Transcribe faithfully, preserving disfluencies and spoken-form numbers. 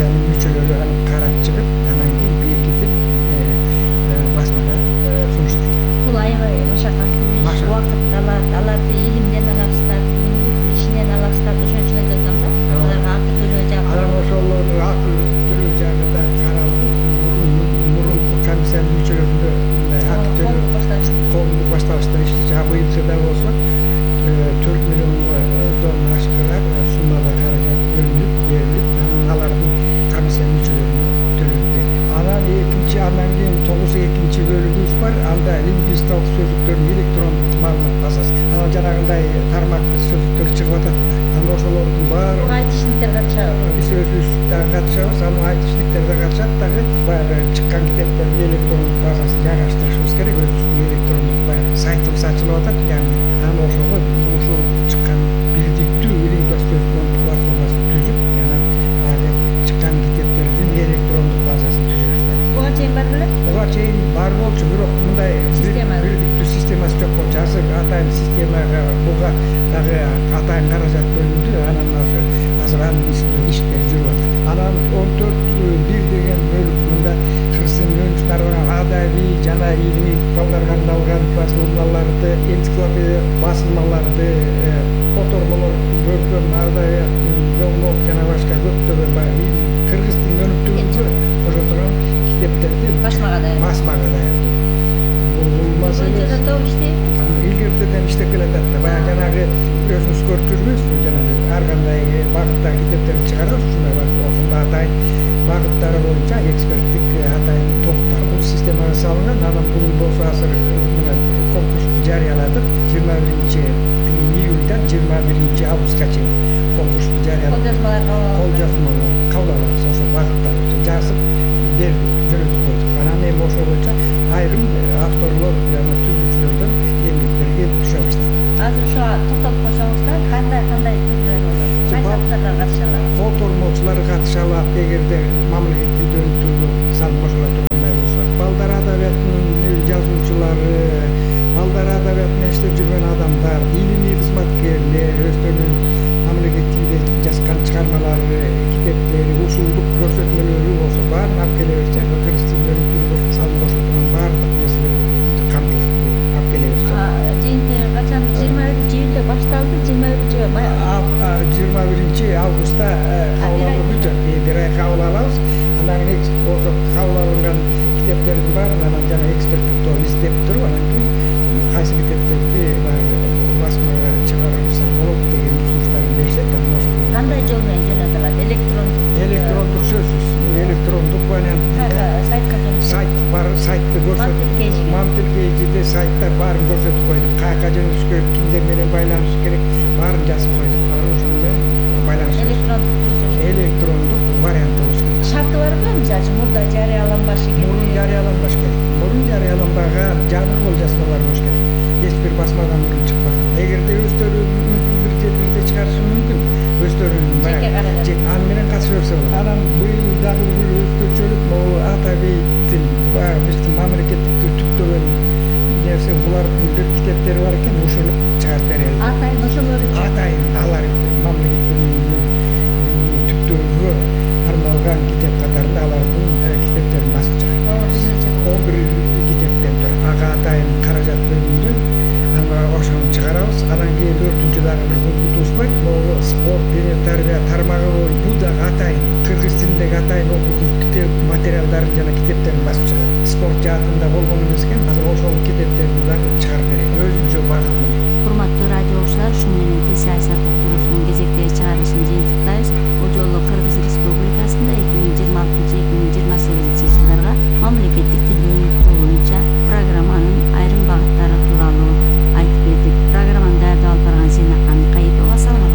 комиссиянын мүчөлөрү аны карап чыгып, анан кийин бекитип басмага сунуштайт. Бул аябай машакаттуу иш, убакыт алат, аларды илимден аласыздар, күнүмдүк ишинен аласыздар, ошон үчүн айтып атам да. Аларга акы төлөө жагы. Анан ошолорду акы төлөө жагы да каралды. Мурунку комиссиянын мүчөлөрүндө мындай акы төлөө коомдук башталыштар ишти. Быйылкыда болсо төрт миллиондон ашкыраак суммада каражат бөлүнүп берилип, анан алардын комиссиянын мүчөлөрүнө төлөп берди. Анан экинчи андан кийин тогуз экинчи бөлүгүбүз бар. Анда лингвистикалык сөздүктөрдүн электрондук маалымат базасы. Анан жанагындай тармактык сөздүктөр чыгып атат да. Анан ошолордун баары айтышниктер катышабы? Биз өзүбүз да катышабыз, анан айтышниктер да катышат дагы. Баягы чыккан китептердин электрондук базасын жайгаштырышыбыз керек. Өзүбүздүн электрондук баягы сайтыбыз ачылып атат. Яғни анан ошого ушул чыккан бирдиктүү лингвостоздун платформасын түзүп, анан баягы чыккан китептердин электрондук базасын түзөбүз да. Буга чейин бар беле? Буга чейин бар болчу, бирок мындай бирдиктүү системасы жок болчу. Азыр атайын системага буга дагы атайын каражат бөлүндү. Анан ошо азыр анын үстүндө иштер жүрүп атат. Анан он төрт бир деген бөлүк мында кыргыз тилинин өнүгүүсүнө арналган адабий жана илимий балдарга арналган басылмаларды, энциклопедия басылмаларды, котормолор көркөм адабият, жоңмок жана башка көптөгөн баягы кыргыз тилин өнүктүрүүгө кошо турган китептерди басмага даярдоо. Басмага даярдоо. Бул маселе да топ иштейби? Илгертеден иштеп келатат да. Баягы жанагы өзүбүз көрүп жүрбөйбүзбү? Жанагы ар кандай багыттагы китептерди чыгарабыз, ушундай бар. Ошондо атайын багыттары боюнча эксперттик атайын топ бар. Бул системага салынган. Анан бул болсо азыр мына конкурсту жарыяладык. жыйырма биринчи июльдан жыйырма биринчи августка чейин конкурсту жарыяладык. Кол жазмалар кол жазмалар кабыл алабыз. Ошо багыттар жазып бердик, жөнөтүп койдук. Анан эми ошол боюнча айрым авторлор жана түзүүчүлөрдөн эмгектер келип түшө баштады. Азыр ошо токтолуп койсоңуздар, кандай кандай түрлөрү болот? Кайсы авторлор катыша алат? Котормолчулар катыша алат, эгерде мамлекеттик тилди өнүктүрүүгө салым кошула тургандай болсо. Балдар адабиятынын жазуучулары, балдар адабият менен иштеп жүргөн адамдар, илимий кызматкерлер, өздөрүнүн мамлекеттик тилде жазган чыгармалары, китептери, ушулдук көрсөтмөлөрү болсо баарын алып келе берсе, кыргыз тилин өнүктүрүүгө салым кошула турган баардык нерселер камтылат. Алып келе берсе. Жыйынтыгы качан? жыйырма биринчи июлда башталды, жыйырма биринчи жыйырма биринчи августта кабыл алуу бүтөт. Бир ай кабыл алабыз. Андан кийин ошо кабыл алынган китептердин баарын анан жана эксперттик топ издеп туруп, анан кийин кайсы китептерди басмага чыгарса болот деген сунуштарын беришет. Анан ошо кандай жол менен жөнөтүлөт? Электрондук электрондук сөзсүз, электрондук вариант. Сайтка жөнөтүлөт. Сайт бар, сайтты көрсөтүп, мантилкейжиде сайттар баарын көрсөтүп койдук. Каяка жөнөтүш керек, кимдер менен байланыш керек, баарын жазып койдук. Ошону менен байланыш. Электрондук электрондук варианты болуш керек. Шарты барбы? Мисалы үчүн мурда жарыяланбашы керек. Мурун жарыяланбаш керек. Мурун жарыяланбаган жабык кол жазмалар болуш керек. Эч бир басмадан мурун чыкпаган. Эгерде өздөрү мүмкүн бир жерлерде чыгарышы мүмкүн. Өздөрүнүн жеке каражат. аны менен катыша берсе болот. Анан быйыл дагы бир өзгөчөлүк могу адабий тил, баягы биздин мамлекеттик тил түптөгөн нерсе, булардын бир китептери бар экен, ушуну чыгарып берели. Атайын ошолору Атайын алар мамлекеттин түптөгүгө арналган китеп катарында алардын китептерин басып чыгарат. он бир китептен турат. Ага атайын каражат бөлүндү. Анан ошону чыгарабыз. Анан кийин төртүнчү дагы бир пунктубуз бар. Могу спорт, дене тарбия тармагы боюнча бул дагы атайын кыргыз тилиндеги атайын окуу китеп материалдарын жана китептерин басып чыгарат. Спорт жаатында болгон эмес экен. Азыр ошол китептерди дагы чыгарып берет. Өзүнчө багыт менен. Урматтуу радио угуучулар, ушуну менен кесип